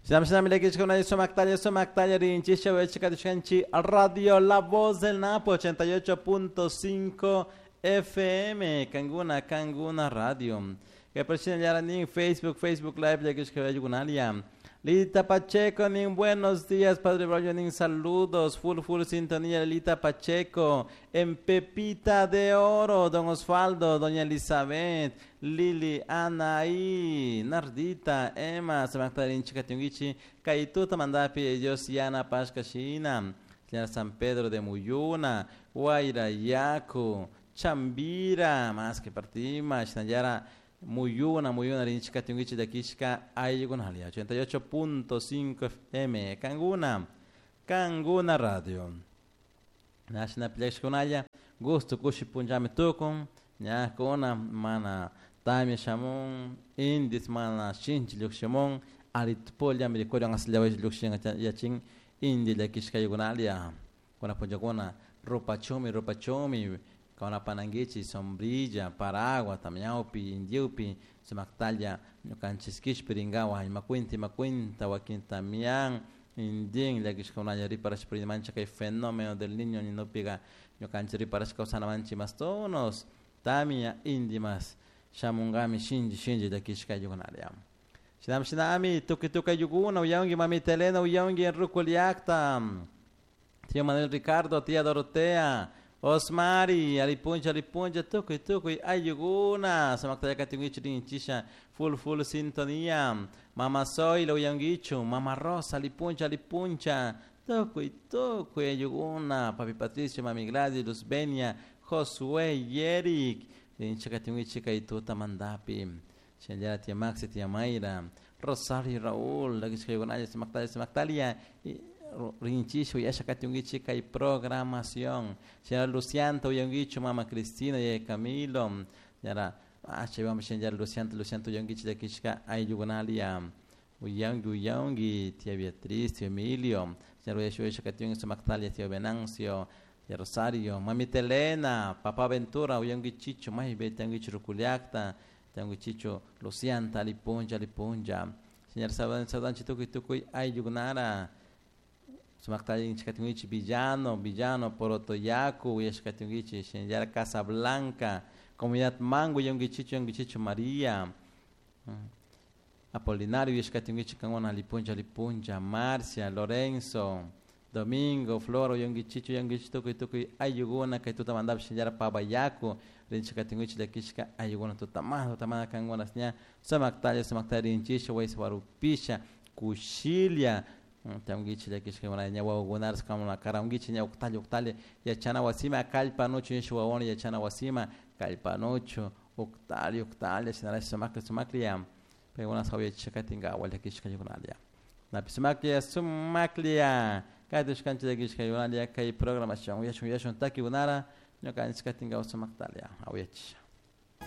Sumaktalla rinchisha wechikatishkanchi Radio La Voz del Napo 88.5 FM Kanguna Kanguna Radio. Que nin Facebook Facebook Live llakishkayukunalia. Lita Pacheco nin buenos días Padre Braulio nin saludos full full sintonía Lita Pacheco en Pepita de Oro Don Osvaldo Doña Elizabeth Lili Anaí Nardita Emma Samaktarin Chikatungichi Kaituta Mandapi Dios Yana Pashkashina San Pedro de Muyuna Guaira Yaku Chambira más que partima Shinayara Muyuna, Muyuna, Rinchika, Tungichi, Dakishka, Ayugunalia, 88.5 FM, Kanguna, Kanguna Radio. Nashna Plexkunaya, gusto kushi punjame tukun, ñakuna, mana tamia shamun, indis mana shinchi llukshimun, aritpolla mirikurian asllawash llukshin yachin, indi llakishka ayugunalia, kuna punjakuna, rupachumi, rupachumi, Kauna sombrilla, paraguas, tamiaupi, indiupi, sumaktalla, ñukanchis kishpiringawa, imakuinta, imakuinta, wakin tamian, indin, llakishkaunalla riparash mancha kay fenómeno del niño ninupiga, ñukanchis riparash kawsanamanchi mas tonos, tamia, indi mas, shamungami, shinji, shinji, llakishka ayukunalia. Shinam shinami, tuki tuki ayukuna, uyangi, mamita Elena, uyangi, en Rukuliakta, tío Manuel Ricardo, tía Dorotea, Osmari, alipuncha, alipuncha, tukuy, tukuy, ayuguna, samaktayaka tinguichu rinchisha, full, full sintonía, Mama Soy, lo uyanguichu, Mama Rosa, alipuncha, alipuncha, tukuy, tukuy, ayuguna, Papi Patricio, Mami Gladys, Luzbenia, Josué, Yerik, rinchaka tinguichi kaituta mandapi, Shenjara tía Maxi, tía Mayra, Rosario, Raúl, la samaktaya, samaktalia, rinchisho yasha katungichi kay programación. Señora Lucianto uyanguicho mama Cristina y Camilo. Señora acha vamos señora Lucianto Lucianto uyanguichi yakishka ayugunalia. Uyangi uyangi tía Beatriz, tío Emilio. Señora uyashu yasha katungi sumaktalia tío Venancio. Tía Rosario, mamita Elena, papá Ventura, uyangi chicho, mai be tiangi rukuliakta, tiangi chicho Lucianta, alipunja, alipunja. Señor Sadan, Sadan, chitukuy, tukuy, ayugunara. Sumaktayin chikatungichi Villano, Villano, Porotoyacu, Uyashkatungichi, Shenyara Casablanca, Comunidad Mango, Yongichicho, Yongichicho María, Apolinario, Uyashkatungichi, Kangona, Lipunja, Lipunja, Marcia, Lorenzo, Domingo, Floro, Yongichicho, Yongichicho, Tukuy, Tukuy, Ayuguna, Kaituta Mandap, Shenyara Pabayacu, Rinchikatungichi, Lakishka, Ayuguna, Tutamana, Tutamana, Kangona, Snya, Samaktaya, Samaktaya, Rinchisha, Waiswarupisha, Kushilia, Tianguichi llakishka ña wawakunaras kamuna karanguichi ña uktalla uktalla yachana wasima kallpanuchu nisha wawani yachana wasima kallpanuchu uktalla uktalla shinarash sumaklla sumaklla paykuna sawyachisha katinkawa llakishka yukunalla napi sumaklla sumaklla kaytushkanchik llakishka yukunalla kay programación uyashun uyashun takikunara ñukanchik katinkawa sumaktalla awayachisha.